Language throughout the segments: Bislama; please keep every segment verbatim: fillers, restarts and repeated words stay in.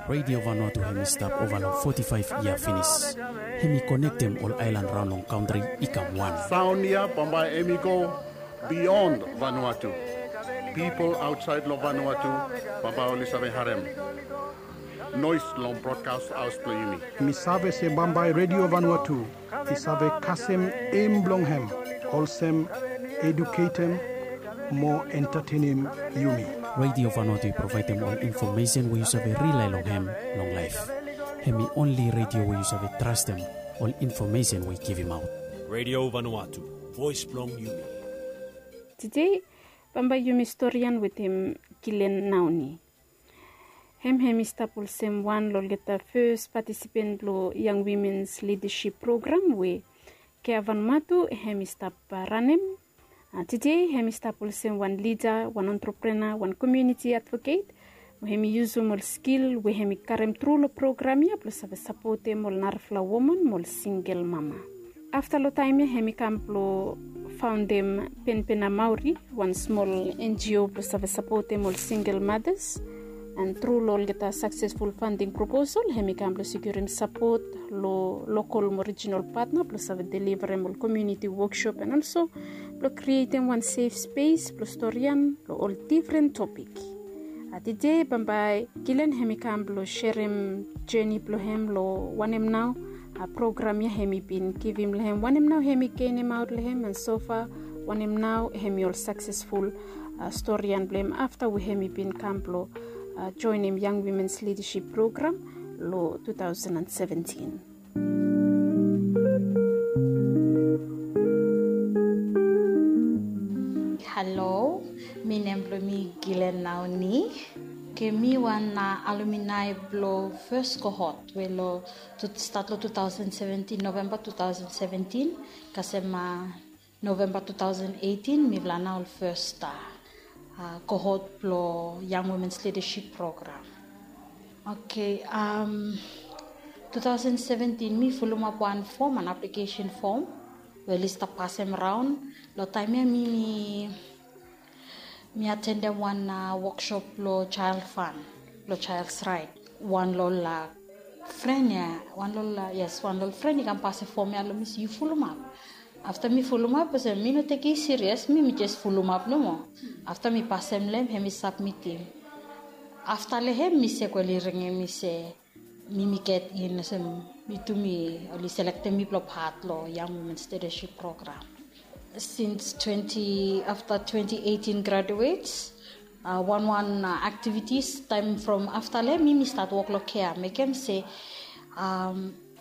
Radio Vanuatu hem i stap ova long foti faef yia finis. Hem i konektem ol aelan raon long kantri i kam wan. Saon ya bambae hem i go bion Vanuatu. Pipol aotsaed long Vanuatu bambae oli save harem noes long brodkas haos blong yumi. Mi save se bambae Radio Vanuatu i save kasem em blong hem olsem eduketem mo entatenem yumi. Radio Vanuatu i provaedem ol infomesen we yu save rilae long hem long laef. Hem i onli radio we yu save trastem ol infomesen we i givimaot. Radio Vanuatu, voes blong yumi. Tede bambae yumi storian wetem Gilen Naoni. Hem hem i stap olsem wan long olgeta fes patisipen blong Young Women's Leadership Program we Kea Vanuatu hem i stap ranem. Tede hem i stap olsem wan lida, wan entrepreneur, wan komuniti advoket we hem i yusum ol skil we hem i karem tru long program ya blong save sapotem ol narafala woman mo ol singel mama. Afta long taem ya hem i kam blong faondem Penpena Maori, wan smol N G O blong save sapotem ol singel madas. An tru long olgeta saksesful fanding proposal hem i kam blong sikurim sapot long lokol mo rijinal patna blong save deliverem ol komuniti wokshop an olso blong krietem wan sef spes blong storian long ol difren topik. Tede bambae Gilen hem i kam blong serem jeni blong hem long wanem nao program ya hem i bin givim long hem, wanem nao hem i genemaot long hem, an sofa wanem nao hem i ol saksesful storian blong hem afta we hem i bin kam blong joenem Young Women's Leadership Program long two thousand and seventeen. Halo, mi nem blong mi Gilen Naoni. Ke mi wan alumni blong fes kohot we long stat long two thousand seventeen, November two thousand seventeen, kasem November two thousand eighteen mifala nao ol fes kohot blong Young Women's Leadership Program. Oke, two thousand seventeen mi fulumap wan fom, wan aplikesen fom we oli stap pasem raon. Long taem ya mi mi mi atendem wan wokshop blong Child Fund, blong Child's Right. Wan long ol fren ya, wan long ol, yes, wan long ol fren i kam pasem fom ya long mi se yu fulumap. Afta mi fulumap olsem mi no tekem i sirias, mi mi jes fulumap nomo. Afta mi pasem long hem, hem i sapmitim. Afta long hem mi se kweli ringim mi se mi mi get in olsem mi tu mi oli selektem mi blong pat long Young Women's Leadership Program. Since twenty, afta twenty eighteen graduates, wan wan aktivitis taem from afta long hem mi mi stat wok long Kea, mekem se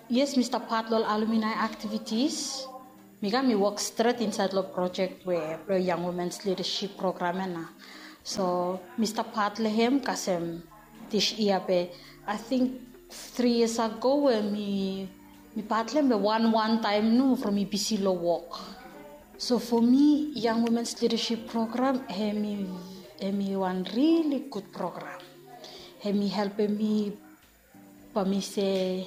yes mi stap pat long ol alumni aktivitis. Mi kam mi wok stret insaed long projek we blong Young Women's Leadership Program ya nao. So mi stap pat long hem kasem dis yia be, ating tri yias ago we mi mi pat long hem be wan wan taem nomo from mi bisi long wok. So fo mi Young Women's Leadership Program hem i hem i wan rili gud program. Hem i helpem mi Bae mi se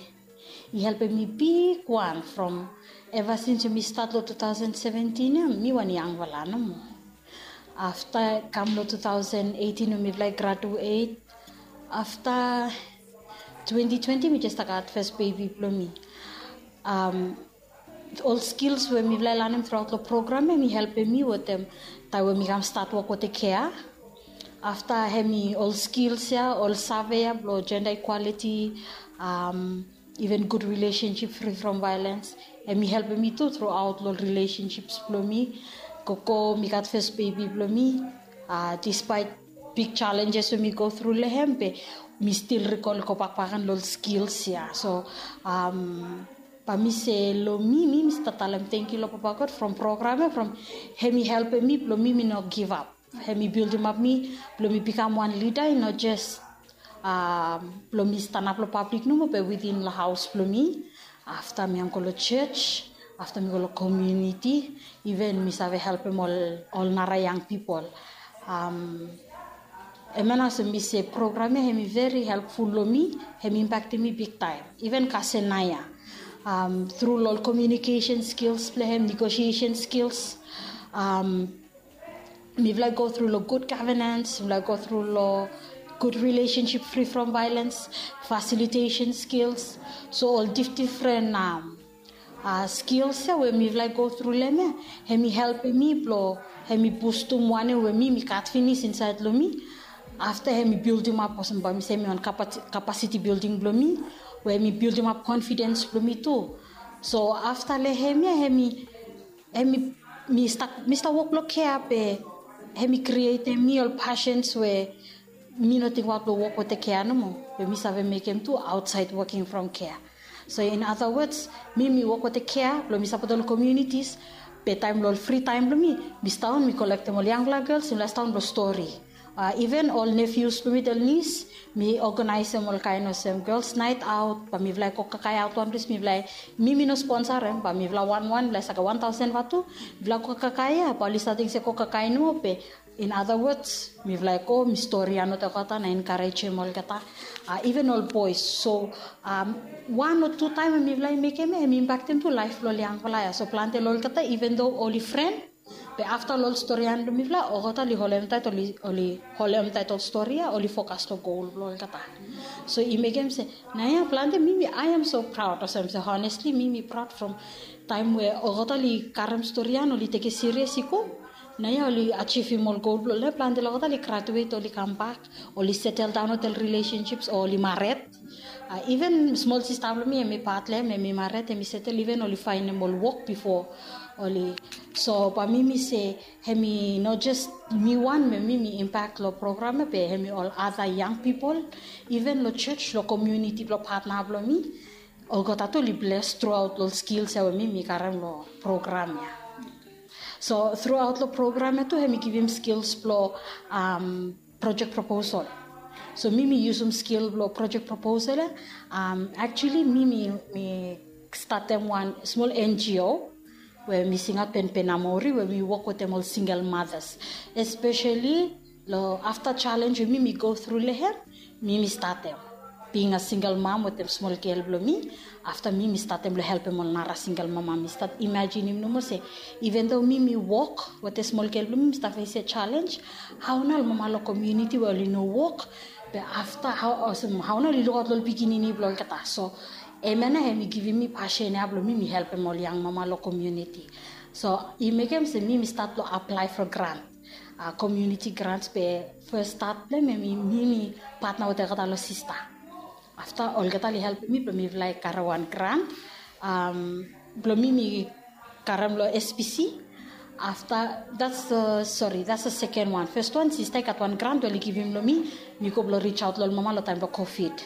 i helpem mi bigwan from eva sins we mi stat long two thousand seventeen ya, mi wan yangfala nomo. Afta kam long two thousand eighteen we mifala i graduet, afta twenty twenty mi jes stap gat fes bebi blong mi. Ol skils we mifala i lanem truaot long program ya hem i helpem mi wetem taem we mi kam stat wok wetem Kea. Afta hem i ol skils ya, ol save ya blong jenda ikwaliti, iven gud rilesensip, fri from vaelens, hem i helpem mi tu truaot long ol rilesensip blong mi. Gogo mi gat fes bebi blong mi, dispaet big jalenjes we mi go tru long hem be mi stil rikol i go bakbak gen long ol skils ya. So Bae mi se long mi, mi mi stap talem tangkiu long Papa God from program ya, from hem i helpem mi blong mi mi no givap. Hem i bildimap mi blong mi bikam wan lida, i no jes blong mi stanap long pablik nomo be witin long haos blong mi. Afta mi yam go long jos, afta mi go long komuniti, iven mi save helpem ol nara yang pipol. Hemia nao olsem mi se program ya hem i veri helpful long mi, hem i impaktem mi bigtaem. Iven kasem naoia, tru long ol komiunikesen skils blong hem, negosiesen skils, mifala i go tru long gud gavenens, mifala i go tru long good relationship, free from violence, facilitation skills. So ol dif- different um, uh, skills ya we mifala i go through long hem ya, hem i helpem mi blong hem i bustum wanem we mi mi gat finis insaed long mi. Afta hem i building up olsem bae mi se mi wan capacity building blong mi, we hem i building up confidence blong mi tu. So afta long hem ya hem i hem i mi stap mi stap wok long kea be hem i createm mi ol passions we mi no tingbaot blong wok wetem kea nomo, be mi save mekem tu outside working from kea. So in other words, mi mi wok wetem kea blong mi sapot ol communities, be taem long ol free taem blong mi, mi sidaon mi kolektem ol yangfala gels, mi lae sidaon blong stori. Uh, even ol nephews blong mi, ol niece, mi organizem ol kaen olsem girls night out, bae mifala i go kakae aot wan ples, mifala i mi mi no sponsor hem, bae mifala wanwan, mifala i save gat wan taosen vatu, mifala go kakae ya, bae oli stating se go kakae nomo, be in other words, mifala i go mi stori ya note olgeta na encouragem olgeta. Uh, even ol boys. So um, wan o tu taem we mifala i mekem ya, hem i impactem tu laef blong ol yangfala ya. So plante long olgeta, even though oli friend, be afta long ol stori ya blong mifala, olgeta oli holem taet, oli holem taet ol stori ya, oli fokas long gol blong olgeta. So i mekem se naoia plante mi mi I am so proud olsem se honestly mi mi proud from taem we olgeta oli karem stori ya, oli tekem sirias i go. Naoia oli ajivim ol gol blong oli. Plante long olgeta oli graduate, oli kambak, oli setel daon wetem ol relationships o oli mared. Uh, even smol sista blong mi, hem i pat long hem, hem i mared, hem i setel, even oli faenem ol wok bifo oli. So bae mi mi se hem i no jes mi wan we mi mi impact long program ya, be hem i ol other young people, even long church, long community blong patna blong mi, olgeta tu oli bless throughout ol skills ya we mi mi karem long program ya. So throughout long program ya tu hem i givim skills blong um, project proposal. So mi mi yusum skil blong project proposal ya. Um, actually mi mi mi statem wan smol N G O we mi singaot Penpen Amori, we mi wok wetem ol single mothers, especially long afta challenge we mi mi go through long hem, mi mi statem being a single mom wetem smol gel blong mi. Afta mi mi statem long helpem ol nara single mama. Mi stat imajinim nomo se even though mi mi wok wetem smol gel blong mi, mi stap fesem challenge, hao nao ol mama long community we oli no wok, be afta hao olsem hao nao oli lukaot long ol pikinini blong olgeta. So hemia nao hem i givim mi passion ya blong mi mi helpem ol yang mama long community. So i mekem se mi mi stat long apply for grant, uh, community grants, be first start blong hem hemi mi mi patna wetem olgeta long sista. Afta olgeta oli helpem mi blong mifala i karem wan grant, um, blong mi mi karem long S P C. Afta that's the, sorry, that's the second one. First one sista i gat wan grant we oli givim long mi, mi go blong reach out long ol mama long taem blong COVID.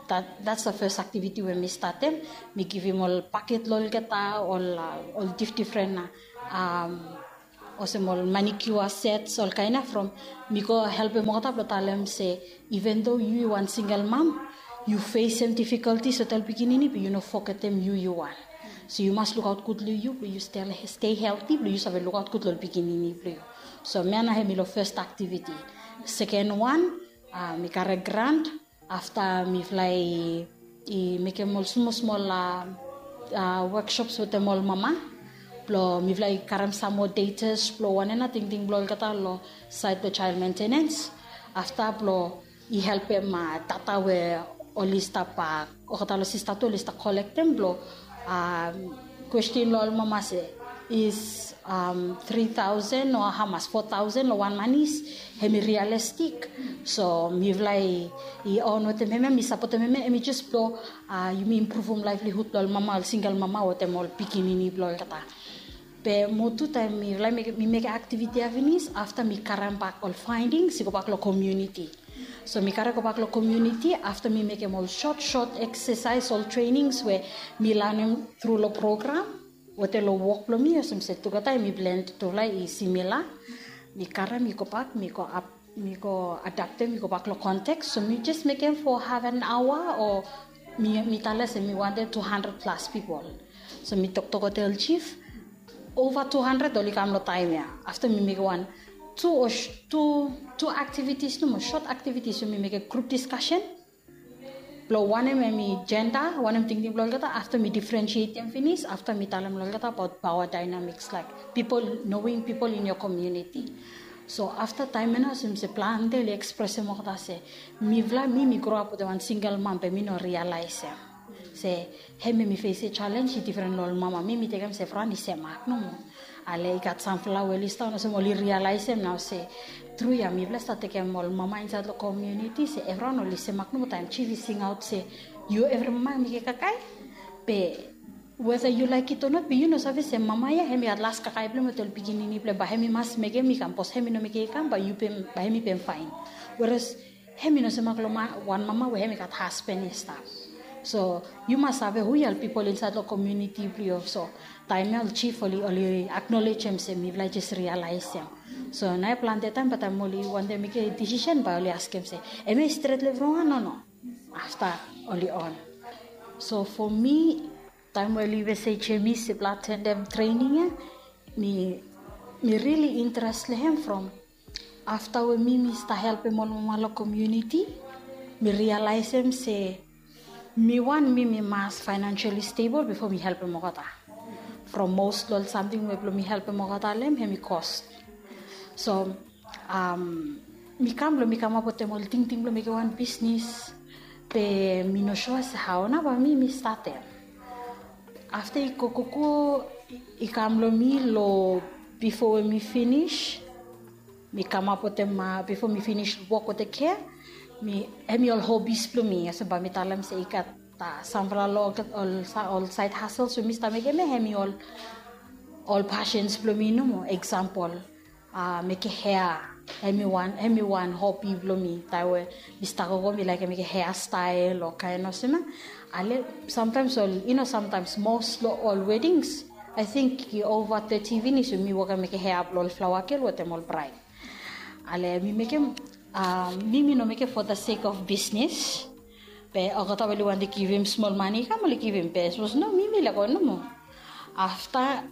That, that's the first activity we mi statem. Mi givim ol paket long olgeta, ol uh, ol dif- different uh, um, olsem ol manicure sets, ol kaen ya, from mi go helpem olgeta blong talem se even though yu wan single mom, yu fesem difficulties wetem ol pikinini, be yu no fogetem yu yu wan. So yu mas lukaot gud long yu blong yu stay healthy blong yu save lukaot gud long ol pikinini blong yu. So hemia nao hemi long first activity. Second one, uh, mi karem grant, afta mifala i mekem ol smol smol workshops wetem ol mama blong mifala i karem sam moa datas blong wanem nao tingting blong olgeta long saed blong child maintenance. Afta blong i helpem data we oli stap, olgeta long sista tu oli stap kolektem blong kwestin long ol mama se is um, three thousand o hamas, four thousand long wan manis, hemi realistik. So mifala i on wetem hemia, mi sapotem hemia, hemi jes blong uh, yumi impruvum livelihood blong ol mama, ol single mama wetem ol pikinini blong olgeta. Be mo tu taem mifala mi mekem activity ya finis, afta mi karem bak ol findings i go bak long community. So mi karem go bak long community afta mi mekem ol short short exercise, ol trainings we mi lanem tru long program wetem long wok blong mi, olsem se tugeta hemi blend, tufala i simila. Mi karem i go bak, mi go ap, mi go adaptem i go bak long context. So mi jes mekem for half an hour o mi, mi talem se mi wantem two hundred plus people. So mi toktok wetem ol chief, ova two hundred oli kam long taem ya. Afta mi mekem wan tu o tu tu activities nomo, short activities we mi mekem group discussion blong wanem hemi gender, wanem tingting blong olgeta. Afta mi differentiatem finis, afta mi talem long olgeta abaot power dynamics, like people, knowing people in your community. So afta taem ya nao olsem se plante oli ekspresem olgeta se mifala mi mi groap wetem wan singel mam be mi no rialaesem se hem ya mi fesim jalenj i difren long ol mama. Mi mi tekem se evriwan i semak nomo. Ale i gat samfala we oli stap olsem oli rialaesem nao se tru ya mifala i stap tekem ol mama insaed long komuniti se evriwan oli semak nomo taem jif i singaot se yu evri mama mekem kakae. Be weda yu laek it o not be yu no save se mama ya hem i gat las kakae blong hem wetem ol pikinini blong hem bae hem i mas mekem i kam bikos hem i no mekem i kam bae yu pem bae hem i pem faen. Weras hem i no semak long wan mama we hem i gat hasben i stap. So yu mas save hu ya ol pipol insaed long komuniti blong yu. So taem ya ol jif oli oli aknolejem se mifala i jes rialaesem. So nao ya plante taem bae taem oli wantem mekem disisen bae oli askem se em ya i stret long evriwan o no. Afta oli on. So fo mi taem we oli mesejem mi se blong atendem trening ya mi mi rili interes long hem from afta we mi mi stap helpem ol mama long komuniti mi rialaesem se mi wan mi mi mas faenansiali stebol bifo mi helpem olgeta. From mos long ol samting we blong mi helpem olgeta long hem hem i kos. So mi kam blong mi kamap wetem ol tingting blong mekem wan bisnis be mi no sua se hao nao bae mi mi statem. Afta i gogogo i kam long mi long bifo we mi finis mi kamap wetem bifo mi finis wok wetem kea mi hem i ol hobis blong mi olsem bae mi talem se i gat samfala long ol saed hasel so mi stap mekem ya hem i ol ol pasens blong mi nomo eksampol mekem hea. Hem i wan hem i wan hobi blong mi taem we mi stap gogo mi laekem mekem hea stael o kaen olsem ya. Ale samtaems ol i no samtaems mos long ol wedings ae ting i ova teti finis we mi wokem mekem hea blong ol flaoa gel wetem ol braed. Ale mi mekem mi mi no mekem fo da sek of bisnis be olgeta we oli wantem givim smol mane i kam oli givim be sapos no mi mi laek go nomo. Afta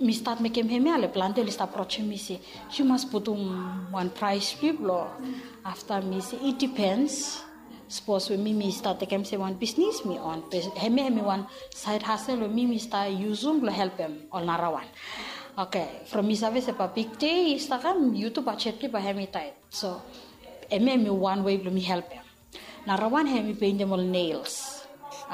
mi stat mekem hem ya ale plante oli stap aprojem mi se yu mas putum wan praes blong yu blong afta mi se i dipens. Sapos we mi mi stat tekem se wan bisnis mi on be hem ya hem i wan saed hasel we mi mi stap yusum blong helpem ol narawan. Oke. From mi save se bae bigde i stap kam yu tu bajet blong yu bae hem i taet. So hem ya hem i wan wei blong mi helpem. Narawan hem i peintem ol nels.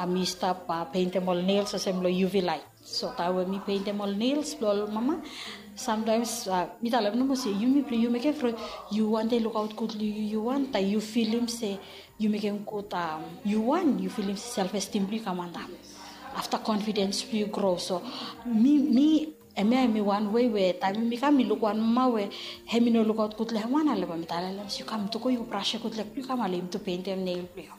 Mi stap peintem ol nels olsem long uv light. So taem we mi peintem ol nels blong ol mama samtaems mi talem nomo se yumi blong yu mekem from yu wantem lukaot gud long yu yu wan taem yu filim se yu mekem gud yu wan yu filim se self estim blong yu kam antap. Afta konfidens blong yu gro so mi mi hem ya hem i wan wei we taem mi kam mi luk wan mama we hem i no lukaot gud long hem wan ale bae mi talem se yu kam tu go yu go brasem gud leg blong yu kam ale yumi tu peintem nel blong yu.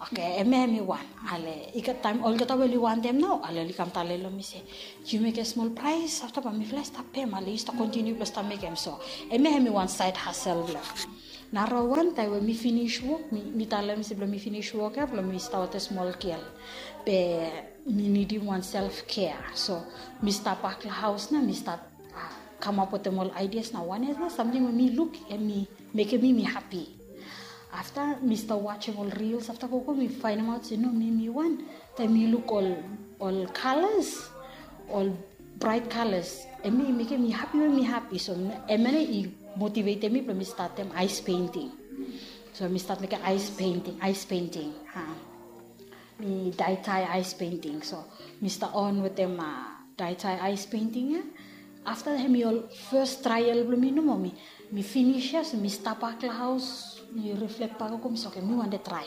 Oke. Hem ya hem i wan ale i gat taem olgeta we oli wantem nao ale oli kam talem long mi se yu mekem smol praes afta bae mifala i stap pem ale yu stap kontiniu blong stap mekem so. Hem ya hem i wan saed hasel blong hem. Narawan taem we mi finis wok mi talem se blong mi finis wok ya blong mi stap wetem smol gel be mi nidim wan self kea. So mi stap bak long haos nao mi stap kamap wetem ol aidias nao wan ya nao samting we mi luk hem i mekem mi mi hapi. Afta mi stap wajem ol rils afta gogo mi faenemaot se no mi mi wan taem mi luk ol ol kalas ol braet kalas hem i mekem mi hapi we mi hapi so hem ya nao i motivetem mi blong mi statem aes peinting. So mi stat mekem aes peinting aes peinting. Mi daetae aes peinting so mi stap on wetem daetae aes peinting ya. Afta hem i ol fes trael blong mi nomo mi mi finis ya so mi stap bak long haos mi riflek bak gogo mi se oke mi wantem trae.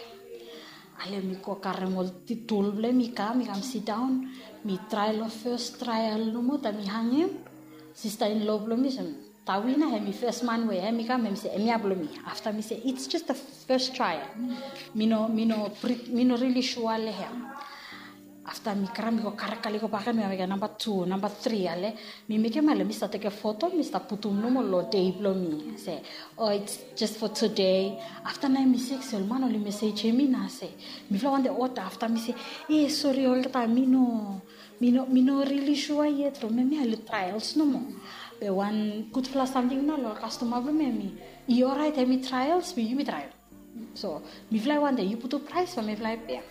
Ale mi go karem ol tul blong hem i kam i kam sidaon mi trae long fes trael nomo taem mi hangem sista in lo blong mi se tawi nao hem i fes man we hem i kam hem i se hemia blong mi. Afta mi se it's jes da fes trael. Mi no mi no rili sua long hem. Afta mi kram mi go karekale go baken mi kam mekem namba tu namba tri ale mi mekem ale mi stap tekem foto mi stap putum nomo long dei blong mi se o its jes fo tude. Afta nao mi sek se ol man oli mesejem mi nao se mifala wantem oda afta mi se e sori olgeta mi no mi no mi no rili sua yet from hemia oli traels nomo. Be wan gudfala samting nao long kastoma blong mi hemi i oraet hemi traels be yumi trael. So mifala i wantem yu putum praes from mifala i pea.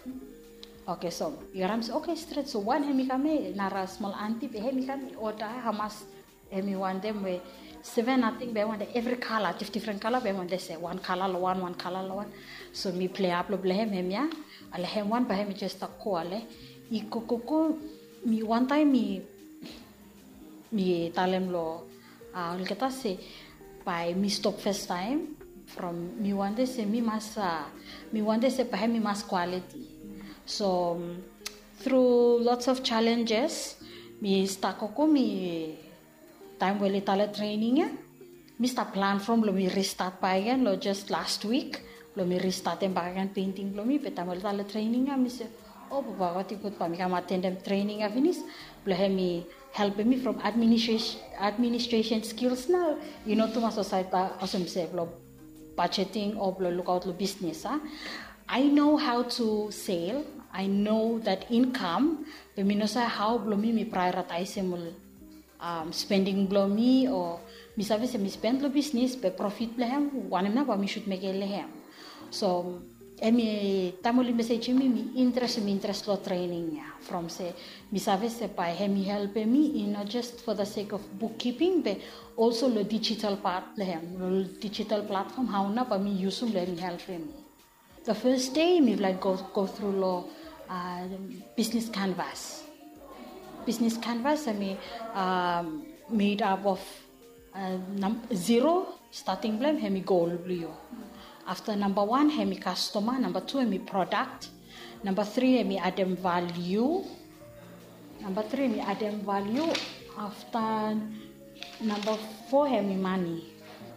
Oke so yu harim se oke stret so wan hemi kam ya nara smol anti be hemi kam i oda hamas hemi wantem we Seven ating be em wante evri kala, difdifren kala be em wante se wan kala long wan, wan kala long wan. So mi plei ap long blong hem, hemia. Ale hem wan bae hem i jes stap go ale. I go go go, mi wantaem mi mi talem long olgeta se bae mi stop fastaem from mi wante se mi mas, mi wante se bae hem i mas kwaliti. So tru lots of challenges, mi stap gogo, mi taem we oli talem trening ya, mi stap plan from blong mi ristat bakegen long jes last wik blong mi ristatem bakegen penting blong mi. Be taem oli talem trening ya mi se, o papa, gud, i gud bae mi kam atendem trening ya finis blong hem i helpem mi from administration skills nao. I no tumas olsem se blong budgeting o blong lukaot long bisnis a. I know how to sale, I know that income, be mi no save hao blong mi mi prioritaisem ol spending blong mi o mi save se mi spend long bisnis be profit blong hem wanem nao bae mi sud mekem long hem. So hemi taem oli mesejem mi, mi interes, mi interes long trening ya from se mi save se bae hemi helpem mi i no jes for the sake of bookkeeping be also long digital part blong hem, long digital platform hao nao bae mi yusum long hemi helpem mi. The first day mifala i go tru long business canvas. Business canvas hemi made up of zero, stating blong hem hemi goal blong yu. Afta namba wan hemi kastoma, namba tu hemi prodak, namba tri hemi adem valiu, namba tri hemi adem valiu. Afta namba fo hemi mane.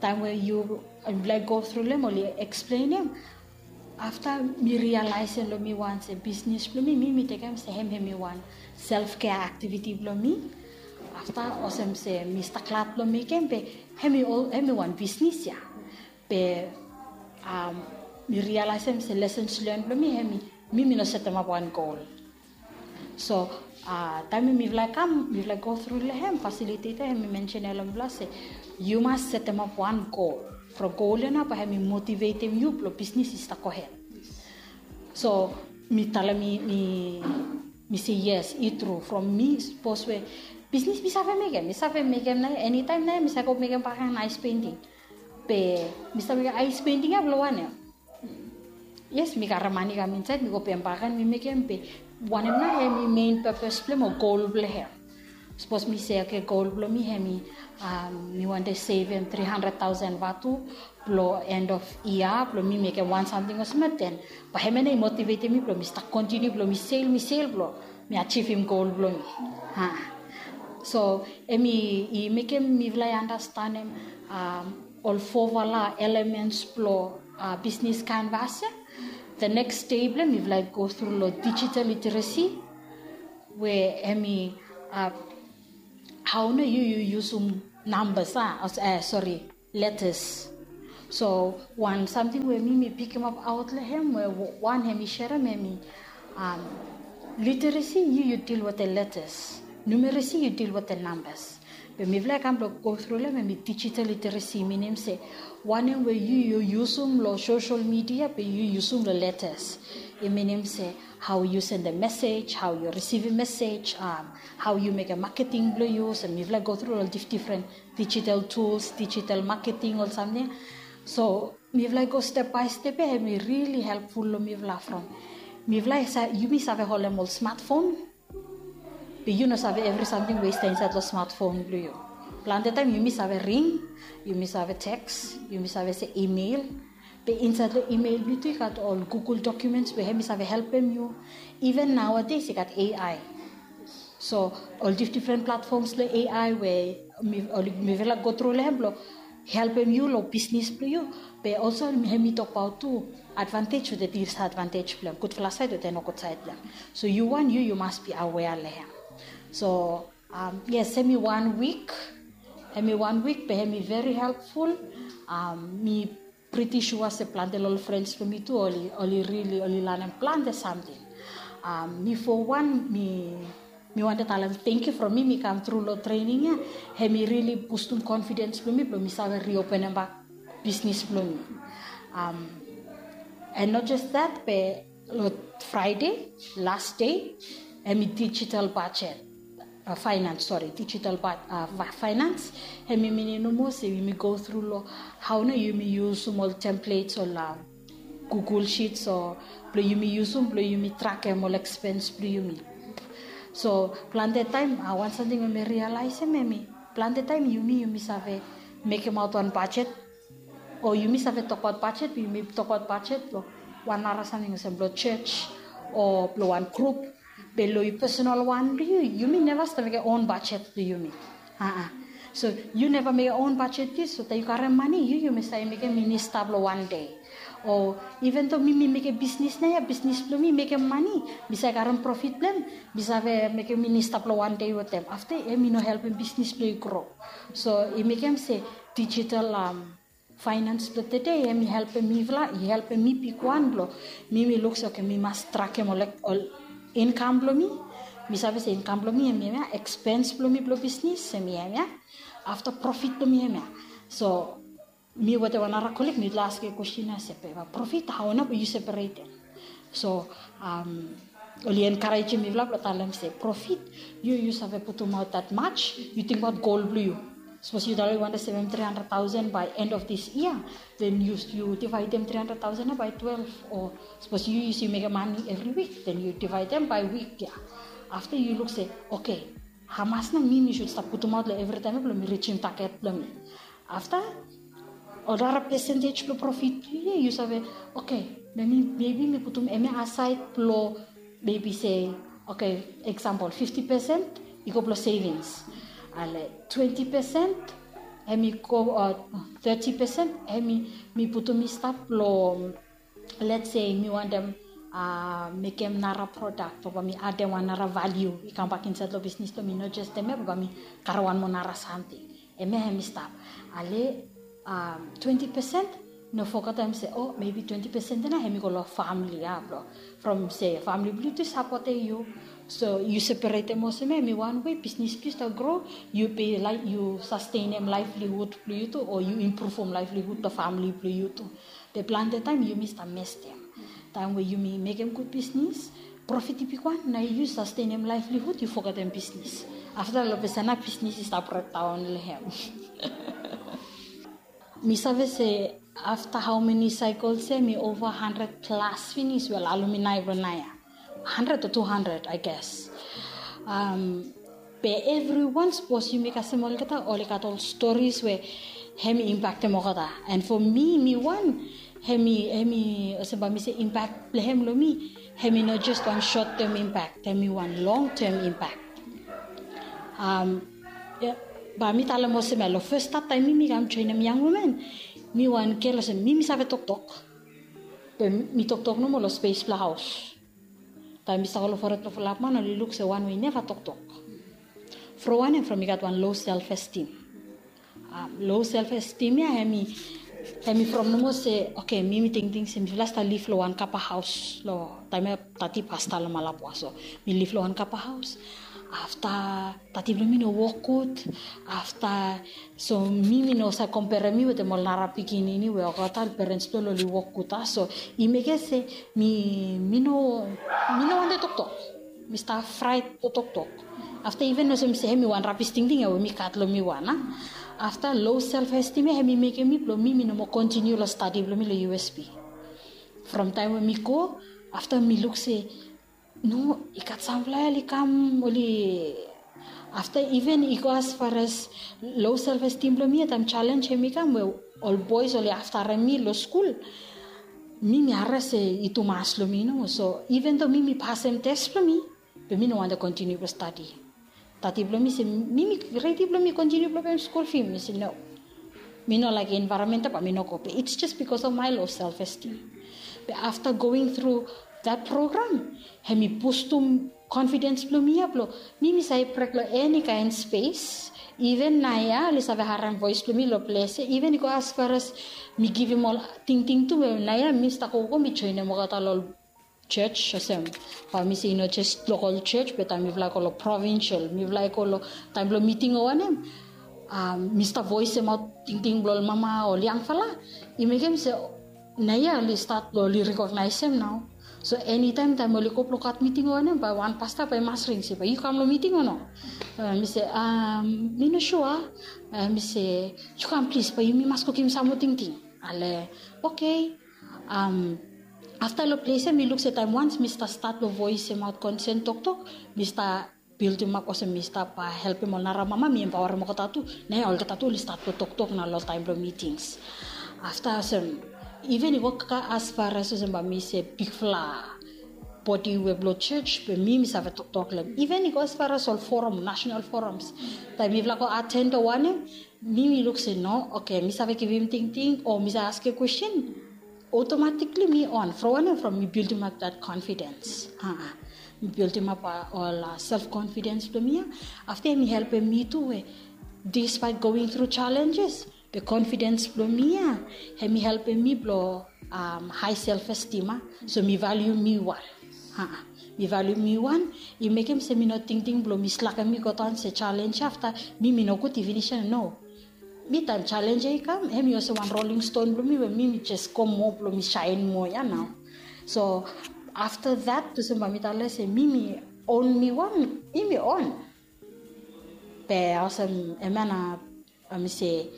Taem we yu laik go tru long hem oli eksplenem, afta mi rialaesem long mi wan se bisnis blong mi, mi mi tekem se hem hemi wan self kea aktiviti blong mi. Afta olsem se mi stap glad blong mekem be hemi wan bisnis ya. Be mi rialaesem se lesens len blong mi hemi, mi mi no setemap wan gol. So taem we mifala i kam, mifala i go tru long hem, fasiliteta hemi mensenem long mifala se yu mas setemap wan gol. From gol ya nao bae hemi motivetem yu blong bisnis i stap gohed. So mi talem mi mi se yes, i tru. From mi sapos we bisnis mi save mekem, mi save mekem nao, enitaem nao mi save go mekem bakegen aes penting. Be mi stap mekem aes penting ya blong wanem? Yes, mi karem mane kam insaed mi go pem bakegen mi mekem, be wanem nao hemi mein pepes blong hem o gol blong hem? Sapos mi se oke, gol blong mi hemi mi wantem sevem tri handred taosen vatu blong end of yia blong mi mekem wan samting olsem ya, den bae hemia nao i motivetem mi blong mi stap kontiniu blong mi sel, mi sel blong mi ajivim gol blong mi. So hemi i mekem mifala i andastanem ol fofala elemens blong bisnis kanvas ya. The next day blong hem mifala i go tru long digital literacy, we hemi hao nao yu yu yusum nambas a, sori, letas. So wan samting we mi mi pikimap aot long hem we wan hemi serem hemi literacy yu yu dil wetem letas, numeracy yu dil wetem nambas. Be mifala i kam blong go tru long hem hemi digital literacy, minim se wanem we yu yu yusum long sosel midia be yu yusum long letas. I minim se hao yu sendem mesej, hao yu risivim mesej, hao yu mekem maketing blong yu. So mifala i go tru long difdifren digital tools, digital maketing, ol samting. So mifala i go step bae step ya, hemi rili helpful long mifala from mifala i sa, yumi save holem ol smartphone, be yu no save evri samting we i stap insaed long smartphone blong yu. Plante taem yumi save ring, yumi save teks, yumi save se email. Be insaed long email blong yu tu i gat ol Google Documents we hemi save helpem yu. Even nowadays i gat A I. So ol difdifren platforms long A I we mifala i go tru long hem blong helpem yu long bisnis blong yu. Be also hemi tokbaot tu advantej wetem disadvantej blong hem, gudfala saed wetem nogud saed blong hem. So yu wan yu yu mas bi awea long hem. So yes, hemi wan wik, hemi wan wik be hemi veri helpful. Mi priti sua se plante long ol frens blong mi tu oli, oli rili oli lanem plante samting. Mi fo wan mi mi wantem talem tangkiu from mi mi kam tru long trening ya. Hemi rili bustum konfidens blong mi blong mi save riopenem bak bisnis blong mi. And not just that, be long Fraede, las dei, hemi digital bajet. uh, finance, sorry, digital part, uh, finance. Hemi minim nomo se yumi go through lo hao nao yumi yusum ol templates o la Google Sheets o blong yumi yusum blong yumi trakem ol expense blong yumi. So plante taem, uh, wan samting we mi realize hemi, plante taem yumi yumi save mekem aot wan budget, o yumi save tokbaot budget, yumi tokbaot budget blong wan nara samting olsem blong church o blong wan group. Be long yu personal wan blong yu, yumi neva stap mekem own budget blong yumi. Aa. So yu neva mekem own budget blong yu, so taem yu karem mane, yu yumi save mekem minista blong wan dei. O even though mi mi mekem bisnis naoia, bisnis blong mi mekem mane, mi save karem profit blong hem, mi save mekem minista blong wan dei wetem. Afta hemi no helpem bisnis blong yu gro. So i mekem se digital, um, finance blong tede hemi helpem mifala, i helpem mi bigwan blong mi mi luk se, okay, mi mas trakem ol, ol income blong mi. Mi save se income blong mi hemi hemia, expense blong mi blong bisnis hemi hemia, afta profit blong mi hemia. So mi wetem wan nara colleague mifala askem kwestin ia se, be profit, hao nao yu separetem? So, um, oli encouragem mifala blong talem se, profit, yu yu save putumaot that much, yu tingbaot goal blong yu. Sapos yu talem yu wantem sevem three hundred thousand by end of this year, then yu yu divaedem three hundred thousand ia by twelve. O sapos yu yu mekem mane evri wik, then yu divaedem by wik ia. Afta yu luk se, okay, hamas nao mi mi sud stap putumaot long evri taem ia blong mi rijim target blong mi. Afta ol nara percentage blong profit blong yu ia, yu save, okay, maybe mi putum hemia aside blong maybe se, okay, example, fifty percent i go blong savings. Ale twenty percent hemi go, uh, thirty percent hemi mi putum i stap long, let's say mi wantem, uh, mekem nara product, o bae mi adem wan nara value i kambak insaed long bisnis blong mi, no jes hemia, bae mi karem wan moa nara samting. Hemia hemi stap. Ale, um, twenty percent, no fogetem se, o maybe twenty percent ia nao hemi go long famili ia blong, from se famili blong yu tu i sapotem yu. So yu separetem olsem ia hemi wan wei bisnis blong yu stap gro, yu be laek yu sastenem livelihood blong yu tu, o yu improvem livelihood blong famili blong yu tu. Be plante taem yumi stap mestem. Taem we yumi mekem gud bisnis, profit i bigwan, nao yu sastenem livelihood, yu fogetem bisnis. Afta long ples ia nao bisnis i stap brekdaon long hem. Mi save se afta hao meni cycles ia, hemi ova hundred plas finis we ol alumni blong naoia. Hundred o two hundred, I guess. Um, be evriwan, sapos yumi kasem olgeta, oli gat ol stories we hemi impaktem olgeta. And for mi, mi wan, hemi, hemi olsem bae mi se impact blong hem long mi, hemi no jes wan short term impact, hemi wan long term impact. Um, ia, bae mi talem olsem ia, long fes stat taem mi mi kam joenem Young Women, mi wan gel olsem mi mi save toktok. Be mi toktok nomo long space blong haos. Taem mi stap go long fored blong fulap man, oli luk se wan we i neva toktok. From wanem? From i gat wan low self esteem. Um, low self esteem ia hemi, hemi from nomo se, okay, mi mi tingting se mifala stap liv long wan kapa haos long taem ia, Tati pasta long Malapua. So mi liv long wan kapa haos. Afta Tati blong mi no wok gud. Afta, so mi mi no save komperem mi wetem ol nara pikinini we olgeta ol parents blong oli wok gud ia. So i mekem se mi, mi no, mi no wantem toktok. Mi stap fraet blong toktok. Afta iven olsem se hemi wan rabis tingting ia we mi gat long mi wan ia. Afta low self esteem ia hemi mekem mi blong mi mi no moa kontiniu long stadi blong mi long U S P. From taem we mi go, afta mi luk se no, i gat samfala ia oli kam, oli, afta iven i go as far as low self esteem blong mi ia, taem challenge hemi kam we ol boys oli aftarem mi long skul. Mi mi harem se i tumas long mi nomo. So iven though mi mi pasem test blong mi, be mi no wantem kontiniu blong stadi. Tati blong mi se mi mi redi blong mi kontiniu blong pem skul fi. Mi se no. Mi no laek environment ia, bae mi no go. Be it's just because of my low self esteem. Be afta going through that program, hemi bustum confidence blong mi ia blong mi mi save brek long eni kaen space. Iven naoia oli save harem voes blong mi long ples ia. Iven i go as far as mi givim ol tingting tu, be naoia mi stap gogo mi joenem olgeta long ol church olsem, bae mi se i no jes lokol church, be taem mifala i go long provincial, mifala i go long taem blong miting o wanem, um, mi stap voesemaot tingting blong ol mama o ol yangfala. I mekem se naoia oli stat blong oli rekognaesem nao. So enitaem taem oli go blong gat miting o wanem, bae wan pasta bae i mas ring se bae yu kam long miting o no. Mi se, mi no sua. Mi se, yu kam plis, bae yumi mas go givim sam moa tingting. Ale, oke. Afta long ples ya mi luk se taem wans mi stap stat long voesemaot konsen toktok, mi stap bildimap olsem mi stap helpim ol nara mama, mi empaorem olgeta tu. Naoia olgeta tu oli stat blong toktok nao long taem blong mitings. Afta olsem, iven i go kaka as far as olsem bae mi se bigfala bodi we blong jos, be mi mi save toktok long hem. Iven i go as far as ol forum, national forums. Taem mifala go aten o wanem, mi mi luk se no, oke, mi save givim tingting o mi save askem kwesten. Automatically mi on from wanem, from mi bildimap that confidence. Mi bildimap ol self confidence blong mi ya. Afta hem i helpem mi tu we despite going through challenges, be confidence blong mi ya hem i helpem mi blong high self esteem. So mi valiu mi wan. Mi valiu mi wan. I mekem se mi no tingting blong mi slakem mi godaon se challenge afta mi mi nogud i finis ya, no. Mi taem challenge ya i kam, hem i olsem wan rolling stone blong mi we mi mi jes go moa blong mi saen moa ya nao. So afta that olsem bae mi talem se mi mi on mi wan, mi mi on. Be olsem, hemia nao mi se,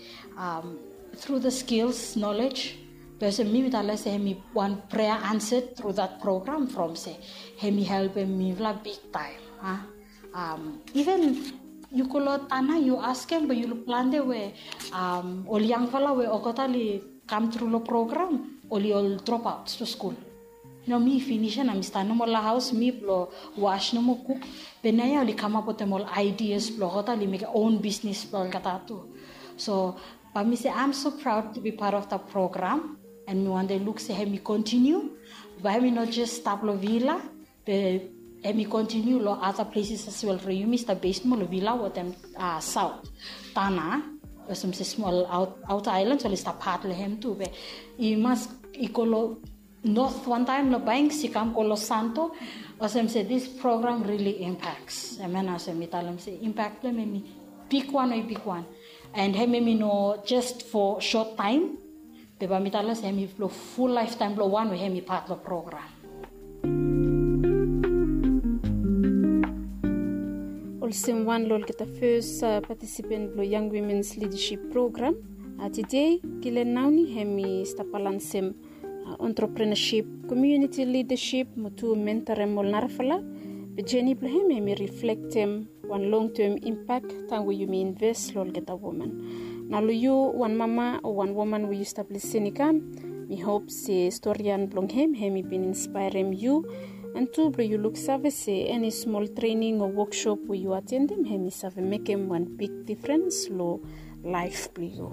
through the skills, knowledge, be olsem mi mi talem se hem i wan prayer answered through that program from se hem i helpem mifala bigtaem. Iven yu go long tana yu askem, be yu luk plante we ol yangfala we olgeta oli kam tru long program, oli ol dropout long skul. Nao mi finis ya nao mi stap nomo long haos, mi blong was nomo, kuk. Be naoia oli kamap wetem ol ideas blong olgeta oli mekem own business blong olgeta tu. So bae mi se I'm so proud to be part of the program. And mi wantem luk se hem i kontiniu. Bae hem i no jes stap long Vila, be hem i kontiniu long other places as well. From yumi stap base moa long Vila wetem South, Tanna, olsem se smol outer islands oli stap pat long hem tu. Be i mas i go long North wantaem long Banks, i kam go long Santo. Olsem se this program really impacts. Hemia nao olsem mi talem se impact blong hem hem i bigwan, o i bigwan. And hem hem i no just for short time. Be bae mi talem se hem i blong full lifetime blong wan we hem i pat long program. Olsem wan long olgeta fes participant blong Young Women's Leadership Program, tede Gillian Nauni hem i stap balansem entrepreneurship, community leadership mo tu mentorem ol narafala. Be jeni blong hem hem i reflektem wan long term impact taem we yumi invest long olgeta woman. Nao long yu wan mama o wan woman we yu stap lisin i kam, mi hop se storian blong hem hem i bin inspaerem yu, and tu blong yu luksave se eni smol trening o woksop we yu atendim hem i save mekem wan big difrens long laef blong yu.